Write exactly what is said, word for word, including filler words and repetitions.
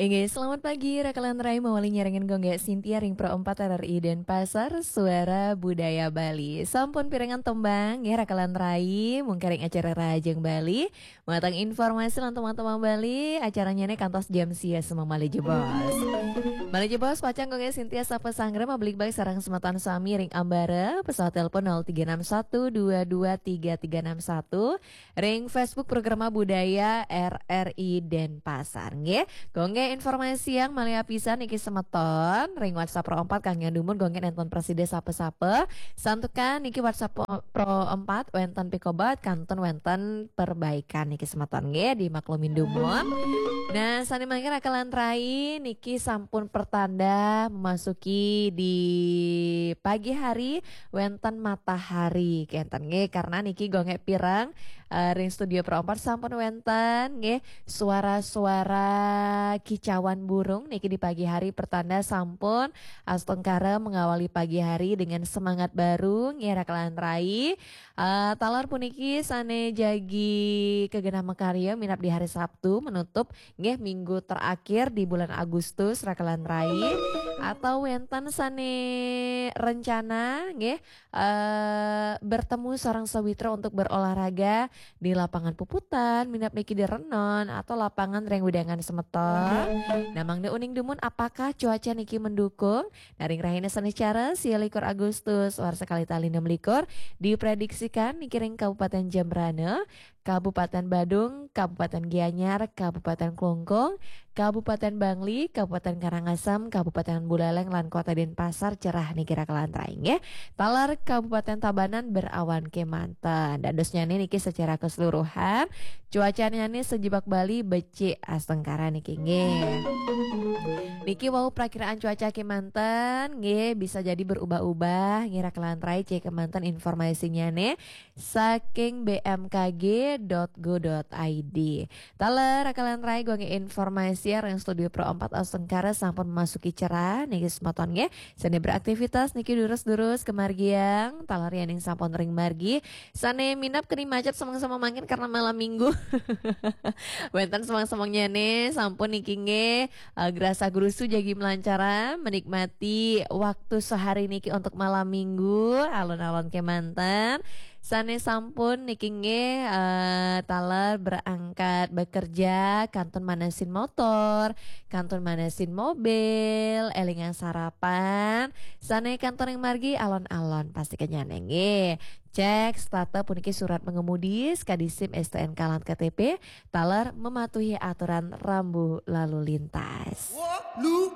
Oke, selamat pagi, Rakalan Rai. Mawali nyarengin Gung Gé Sintia ring Pro empat R R I Denpasar, Suara Budaya Bali. Sampun pirengang tembang, nggih, Rakalan Rai, mungkin ring acara Rahajeng Bali. Matang informasi lan tembang-tembang Bali, acaranya nih kantos jam sia semeng malih jebos. Malih jebos, pacang Gung Gé Sintia sapa sanggra mabligbagan sareng semeton sami ring ambara, pesawat telepon nol tiga enam satu dua dua tiga tiga enam satu, ring Facebook Programa Budaya R R I Denpasar, nggih. Gung Gé informasi yang malih apisan niki semeton, ring WhatsApp Pro empat kangge dumun Gung Gé nenten prasida sapa-sapa. Santukan niki WhatsApp Pro, Pro empat wenten pikobet kantun wenten perbaikan niki semeton, nggih, dimaklumin dumun. Nah, sane mangkin Rakalan Rai niki sampun pertanda memasuki di pagi hari wenten matahari kenten, nggih, karena niki Gung Gé pireng, eh, ring studio Pro empat sampun wenten, nggih, suara-suara kicauan burung niki di pagi hari pertanda sampun astungkara mengawali pagi hari dengan semangat baru, nggih, Rakalan Rai. Eh, taler puniki sane jagi kegenah makarya minab di hari Sabtu menutup, nggih, minggu terakhir di bulan Agustus, Rakalan Rai, atau wenten sane rencana, nggih, eh, bertemu sareng sawitra untuk berolahraga di lapangan puputan, minab niki di renon, atau lapangan ring wewidangan semeton. Nah, mangda uning dumun apakah cuaca niki mendukung? Nah, ring rahina Senin cara, sia likur Agustus, warsa kalih tali enam likur, diprediksikan niki ring Kabupaten Jembrana, Kabupaten Badung, Kabupaten Gianyar, Kabupaten Klungkung, Kabupaten Bangli, Kabupaten Karangasem, Kabupaten Buleleng, lan Kota Denpasar cerah niki Rakalan Rai, nggih. Taler Kabupaten Tabanan berawan kemanten. Dadosnyane niki secara keseluruhan, cuacanyane sejebak Bali becik astungkara niki, nggih. Niki wau prakiraan cuaca kemanten, nggih, bisa jadi berubah-ubah, nggih, Rakalan Rai, cek kemanten informasinyane saking B M K G dot go dot I D. Taler, Rakalan Rai, Gung Gé informasi ring studio Pro empat astungkara sampun memasuki cerah niki semeton, nggih. Sane beraktivitas niki durus-durus kemargiang, taler yaning sampun ring margi. Sane minab keni macet semeng-semeng mangkin karena malam minggu. Wenten semeng-semengnyane sampun niki, nggih, eh, grasa grusu jagi melancaran, menikmati waktu sehari niki untuk malam minggu, alon-alon kemanten. Sane sampun niki, nggih, eh, taler berangkat bekerja, kantun manesin motor, kantun manesin mobil, elingang sarapan. Sane kantun ring margi alon-alon, pasti kenyane, nggih. Cek setata puniki surat mengemudi, sekadi SIM, STNK, lan K T P, taler mematuhi aturan rambu lalu lintas. Wah, lu